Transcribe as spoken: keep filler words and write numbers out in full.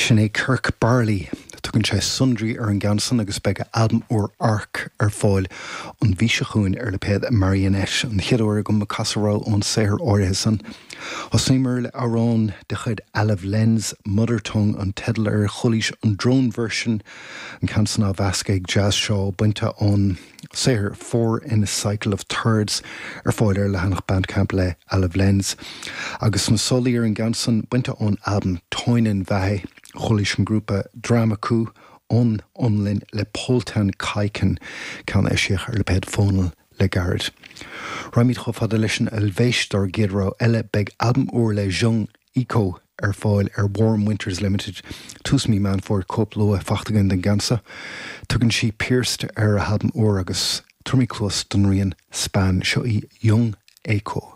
Sin é Kirk Barley tugann sé Sundry ar an gceann san agus beidh albam úr Arc ar fáil an mhí seo chugainn ar lipéad Marionette an chéad uair agam ag casadh ón saothar áirithe san. Thosaíomar le amhrán de chuid Olive Lenz Mother Tongue an teideal air chualaís an drone version an ceann san á mheascadh ag Jazz Shaw bainte ón saothar Four in a Cycle of Thirds ar fáil ar leathanach Bandcamp le Olive Lenz. Agus na solaí ar an gceann san bainte ón albam Toinen Vähe chualaís an grúpa Dramaku ón Fhionlainn le Poltan Kaiken ceann eisíodh ar lipéad Fónal le gairid. Raghaimid chomh fada leis an Eilvéis dár gcéad rogha eile beidh albam úr le Jung Echo ar fáil ar Warm Winters Limited, tús mí Meán Fómhair cóip luath faighte againn den gceann seo. Tugann sí Pierced ar a halbam úr agus tabharfaimid cluas don rian Span seo í Jung Echo.